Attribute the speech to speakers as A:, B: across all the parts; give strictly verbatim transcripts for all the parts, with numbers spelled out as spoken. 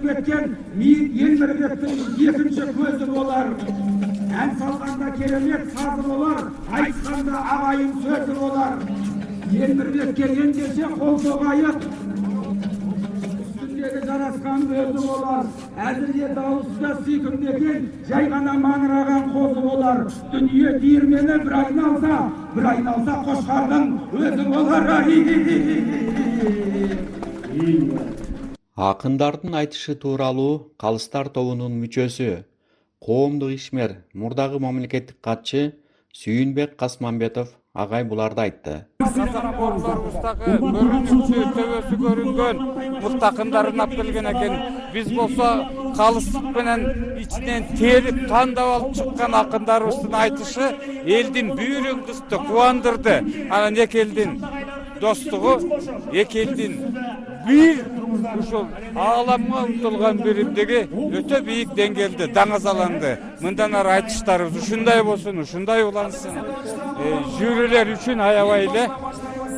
A: кеткен Мийит Эмирбектин экинчи көзү болар. Ән салганда керемет сазы болар, айтканда агайын сөзү болар. Эмирбекке ендеше кол согайык, үстүндөгү жараскан көзү болар. Әзірге дауыста сүйкімдеген, жай ғана маңыраған қозы болар. Дүние диірмені бір айналса, бір айналса қошқардың өзі болар.
B: Акындардын айтышы тууралуу Калыстар тобунун мүчөсү, коомдук ишмер, мурдагы мамлекеттик катчы Сүйүнбек Касманбетов агай буларды айтты.
C: Устагы көрүнүшчү төбөсү көрүнгөн муктакындарын алып келген экен. Биз болсо калыстык менен ичинен терип тандап алып чыккан акындарыбыздын айтышы элдин бүйүрүн кысты, кубандырды. Анан эки элдин достугу, эки элдин бир ушул ааламга умтулган биримдиги өтө бийик деңгээлде даңазаланды. Мындан ары айтыштарыбыз ушундай болсун, ушундай улансын. Жюрилер үчүн аябай эле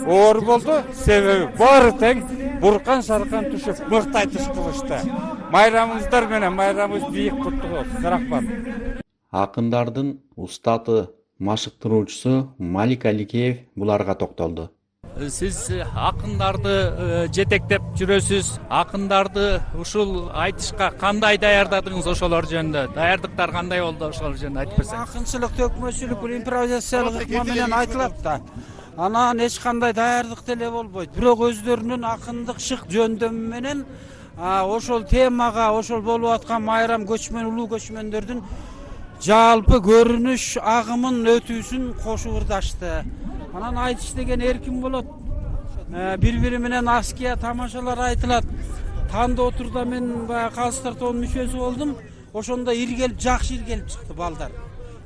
C: оор болду. Себеби баары тең буркан шаркан түшүп мыкты айтыш кылышты. Майрамыңыздар менен майрамыбыз бийик куттук болсун. Рахмат.
B: Акындардын устаты, машыктыруучусу Малик Аликеев буларга токтолду.
D: Сиз акындарды жетектеп жүрөсүз. Акындарды ушул айтышка кандай даярдадыңыз, ошолор жөнүндө? Даярдыктар кандай болду, ошолор жөнүндө айтып берсеңиз.
E: Акынчылык, төкмөчүлүк, бул импровизациялык ыкма менен айтылат да. Анан эч кандай даярдык деле болбойт. Бирок өздөрүнүн акындык шык жөндөмү менен ошол темага, ошол болуп аткан майрам көчмөн, улуу көчмөндөрдүн жалпы көрүнүш агымын өтүүсүн кошуп ырдашты. Анан айтыш деген эркин болот. Бири-бири менен аския тамашалар айтылат. Танда отурда мен баягы Калыстар тобунун мүчөсү болдум. Ошондо иргелип, жакшы иргелип чыкты балдар.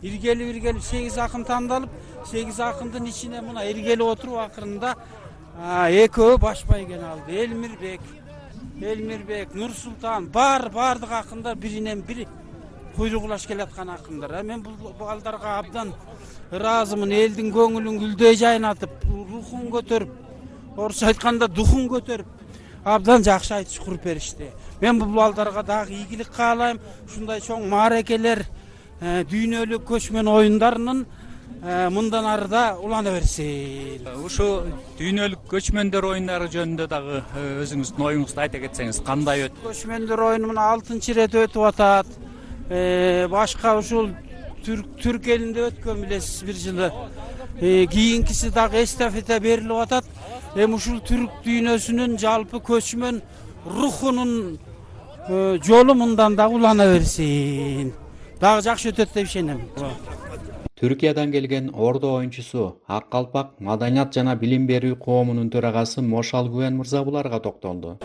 E: Иргелип, иргелип сегиз акын тандалып, сегиз акындын ичине мына иргелип отуруп акырында экөө баш байгени алды. Элмирбек, Элмирбек, Нурсултан, бар бардык акындар биринен бири куйругулаш келаткан акындар. Мен бул балдарга абдан ыраазымын. Элдин көңүлүн гүлдөй жайнатып, рухун көтөрүп, орусча айтканда духун көтөрүп, абдан жакшы айтыш куруп беришти. Мен бул балдарга дагы ийгилик каалайм. Ушундай чоң мааракелер, дүйнөлүк көчмөн оюндарынын мындан ары да улана берсин.
D: Ушу дүйнөлүк көчмөндөр оюндары жөнүндө дагы өзүңүздүн оюңузду айта кетсеңиз, кандай өттү?
E: Көчмөндөр оюну мына алтынчы ирет өтүп атат. Башка ушул Түрк элинде өткөн билесиз бир жылы. Кийинкиси дагы эстафета берилип атат. Эми ушул түрк дүйнөсүнүн жалпы көчмөн рухунун жолу мындан да улана берсин. Дагы жакшы өтөт деп ишенем.
B: Түркиядан келген ордо оюнчусу Ак Калпак Маданият жана билим берүү коомунун төрагасы Мошал Гүвен мырза буларга токтолду.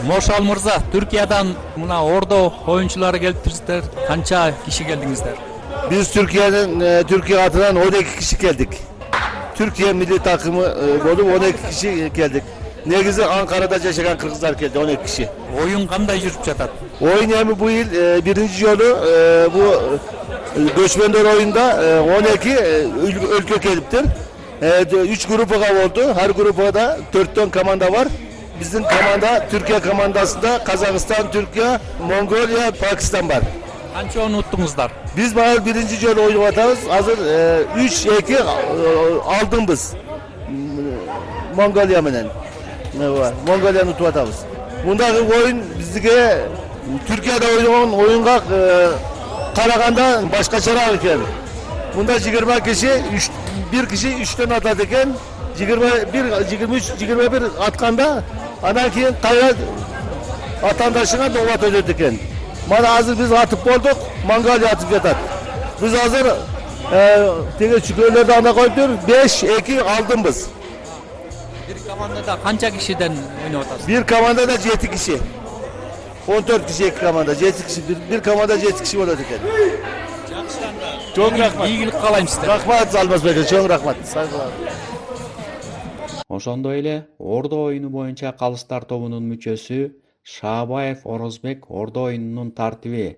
D: Мошал мырза, Түркиядан мына ордо оюнчулары келиптирсиздер. Канча киши келдиңиздер?
F: Biz Türkiye'nin Türkiye adından on iki kişi geldik. Türkiye milli takımı olup on iki kişi geldik. Negizi Ankara'da yaşayan Kırgızlar geldi on iki kişi.
D: Oyun kanday жүрүп жатат?
F: Oyun yani bu yıl birinci yolu bu göçmenler oyunda on iki ülke geliptir. Üç grupa oldu. Her grupa da dörtten komanda var. Bizim komanda Türkiye komandasında Kazakistan, Türkiye, Mongolia, Pakistan var.
D: Kança onu unuttuңуздар?
F: Biz bana birinci yolu oynup atarız. Hazır üç iki aldım biz. Mongolia menen. Mongolia'nı tutup atarız. Bundaki oyun bizge Türkiye'de oynanan oyunga karaganda başkaçarak eken. Bunda yigirme kişi, bir kişi üçten atat eken. yigirme bir, yigirme üç, yigirme bir atkanda anan keyin kaya atandaşına doğat ödedi eken. Mana hazır biz atıp olduk, Mongolia atıp yatat. Biz hazır tege çükörlerde ana koyup diyoruz, beş iki aldım biz.
D: Bir komandada kança kişiden oynayıp atasınız?
F: Bir komandada yedi kişi. on dört kişi iki komanda, yedi kişi. Bir, bir komanda yedi kişi oladı eken. Çok rahmat.
D: İyilik kalayım sizden.
F: Rahmat Salmaz Bey, çok rahmat. Saygılar.
B: Ошондой эле ордо оюну боюнча Калыстар тобунун мүчөсү Шаабаев Орозбек ордо оюнунун тартиби,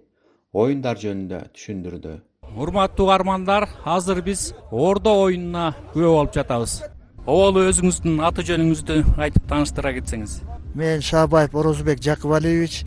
B: оюндар жөнүндө түшүндүрдү.
D: Урматтуу угармандар, азыр биз ордо оюнуна күбө болуп жатабыз. Оболу өзүңүздүн аты жөнүңүздү айтып тааныштыра кетсеңиз.
G: Мен Шаабаев Орозбек Жакыбалиевич,